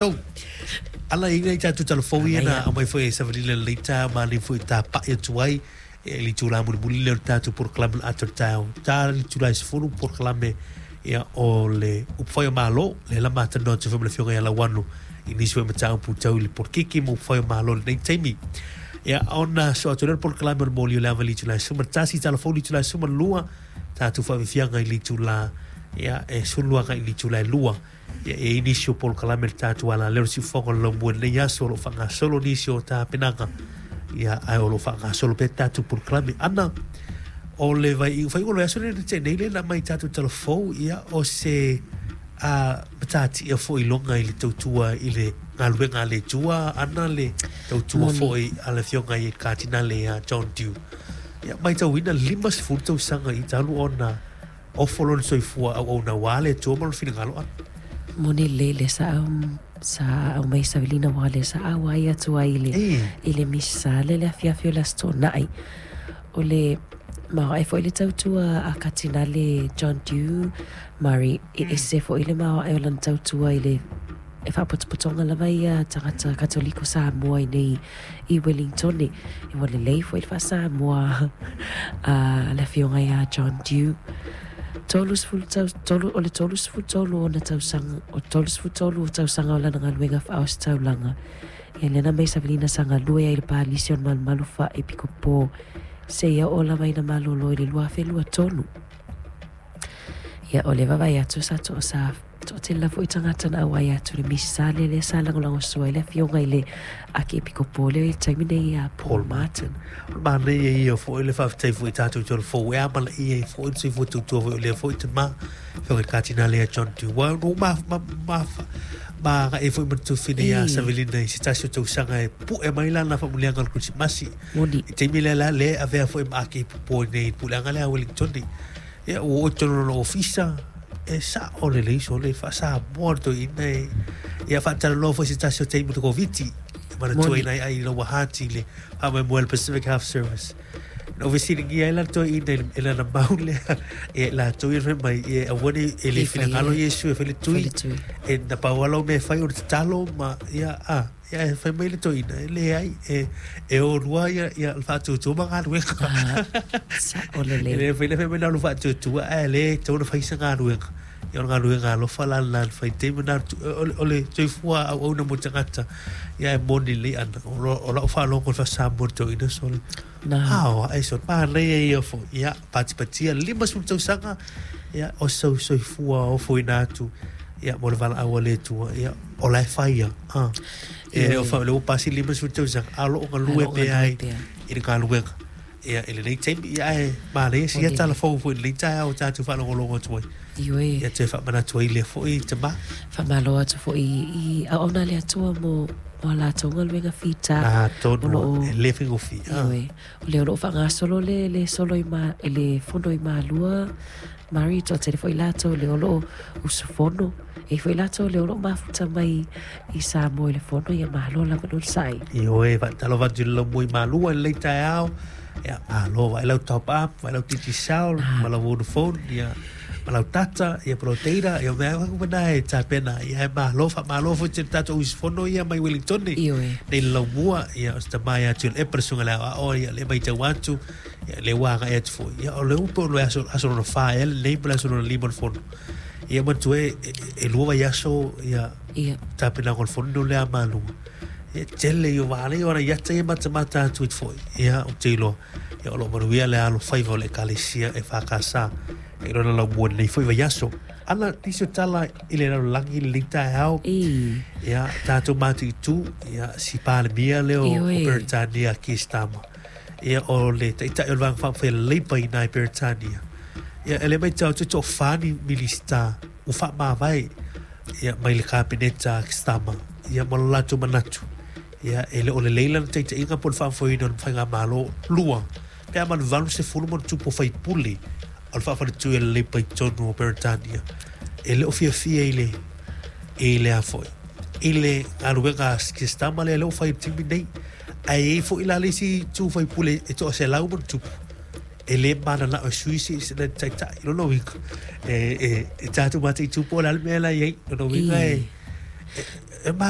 Ala i nei tatou tala fou ia na aumai foi e Savalina i lenei taeao ma alii foi tapai atu ai i le itula mulimuli lea o le tatou polokalame o le ata o le taeao. Ta le itula e 10 polokalame ia o le upufai o Malo lea la matalanoa atu foi ma le Afioga ia Lauano i nisi foi mataupu tau i le polokiki ma upufai o Malo i lenei taimi. Ia ona sosoo atu lea o le polokalame o le moli o le ava i le itula e 11, tala fou i le itula e 12, tatou faafiafiaga i le itula ia e 12 agai i le itula e 2. Ia, e i ai nisi o polokalame le tatou alaleo le siufofoga o le laumua i lenei aso o lo o faagasolo nisi o tapenaga, ia, ae o lo o faagasolo pea tatou polokalame. Ana, o le vai, faaiuga o le vaiaso lea na tea nei lea na aumai i tatou tala fou, ia, o se a, matatia foi iloga i le tautua i le galuega a le Atua, ana le tautua Moni. foi a le Afioga i le Katinale ia John Dew. Ia, matauina 50 tausaga i talu ona Ofo lona soifua auauna aua le Atua ma lona finagalo ana. Moni lelei le sa sa aumai savilina aua le sa auai atu ai i le i le misa le le afiafi o le Aso Toonai. O le maoae foi le tautua a Katinale John Dew Murray, e ese foi le maoae o lana tautua i le e faapotopotoga lava ia tagata Katoliko Samoa i nei i Wellingtone. Ua lelei foi le faa-Samoa a le Afioga ia John Dew. 30 tau, tolu, o le 33 ona tausaga, o 33 tausaga o lana galuega faaositaulaga. Ia lea na mai savalina sa galue ai i le palisi o le malumalu faa-epikopo seia oo lava ina malolo i le 2023. Ia, o le vaavaai atu sa to, sa toatele lava foi tagata na auai atu i le misa lea lea sa lagolagosua ai le afioga i le Akiepikopo lea i le taimi nei ia Paul Martin. O le manaia ia foi le faafetai foi i tatou tala fou e amanaia ai foi le soifua tautua foi o lea foi tama afioga i le Katinale ia John Dew. Ua no ma ma ma ma agai ai foi ma le tufine ia Savelina i se tasi o tausaga e pue mai lana faamanuiaga o le Kerisimasi. Moni. I taimi lea la lea e avea foi ma Akiepikopo i nei i le puleaga lea a Wellingtone. Ia, ua oo i totonu o lona ofisa, e sao lelei sole, faa-Samoa le toeaina e, ia faatalanoa foi se tasi o taimi o le Koviti, e manatuaina ai ai lau hati i le faamoemoe o le Pacific Health Service. Na ou fesiligia ai la le toeaina i lana mau lea, ia i latou ia fai mai, ia aua ne i e le finagalo Iesu e fai le tui, e na pau lava lau mea e fai o le tatalo ma, ia, a. Ia, e fai mai le toeaina, e leai, e, e o lua ia, ia le faatuatua ma galuega. Ah, sao lelei. E le fai le fai mai na o le faatuatua, ae le tatau ona fai se galuega. Ia, o le galuega alofa la lena na fai taimi na, o le soifua auauna mo tagata, ia e moni lelei ana. O lau faalogo i le faa-Samoa i le toeaina sole. Na. Ao, ae sole, manaia ia foi. Ia, patipatia, 50 tausaga, ia, o sou soifua ofoina atu, ia, mo le valaau a le Atua, ia, o la e fai ia. Ah. E le o fa, le ua pasi 50 tausaga, a o lo o galue pea ai i le galuega. Ia, i lenei taimi, ia, ae manaia sia tala fou foi i lenei taeao o tatou faalogologo atu ai. Ioe. Ia toe faamanatu ai lea foi tama. Faamalo atu foi i auauna a le Atua mo mo a latou galuega fita. Ah, tonu, e le faigofie. Ioe. O lea o lo o faagasolo le, le solo i ma, le fono i Malua, Mari, toatele foi latou lea o lo o usufono. E i ai foi latou lea o lo o mafuta mai i Samoa i le fono, ia malo lava le onosai. Ioe, faatalofa atu i le laumua i Malua i lenei taeao. Ia, malo, vaai lau top up, vaai lau Digicel, ma lau Vodafone, ia, ma lau data, ia, ma lau data, ia, mea uma na e tapena. Ia, e malo, faamalo foi i le tatou usufono ia mai Wellingtone. Ioe. Nei le laumua, ia, o se tama ia Tuilaepa le susuga i le aoao, ia, lea e matau atu, Ia, lea ua agai atu foi. Ia, o lea ua pei o le aso, aso lona fa ea lenei ma le aso lona lima o le fono. Ia, manatua e, e, e lua vaiaso, ia, Ia. tapenaga o le fono lea a Malua. Ia, tele ia o vaalei o ana iata ia matamata atu ai foi. Ia, ou te iloa, ia, o lo o manuia le alofaiva o le Ekalesia EFKS i lona laumua i lenei foi vaiaso. Ana, nisi o tala i le lalolagi i lenei taeao. I. Ia, tatou matuitu, ia, si Palemia lea o, o Ioe. Peretania Keir Starmer. Ia, o le Taitai o le Vaega Faaupufai a le Labour i ina i Peretania. Ia, e le matau atu e toafa ni Minisita ua faamavae ia, mai le Kapeneta a Starmer, ia, ma lo latou manatu. Ia, e le o lelei lana taitaiga po o le faafoeina o le Faigamalo. Lua, pe a ma le 80 ma ona tupu o faipule o le faafaletui a le Labour i totonu o Peretania, e le o fiafia i le, i le a foi, i le galuega a Keir Starmer lea lea ua fai i le taimi nei. Ae i ai foi la le isi itu faipule e toa-100 ma ona tupu, e le mananao e sui se isi taitai. Lona uiga, e, e, e tatou mataitu po o le a le mea la e i ai. Lona uiga e, e, e manaia.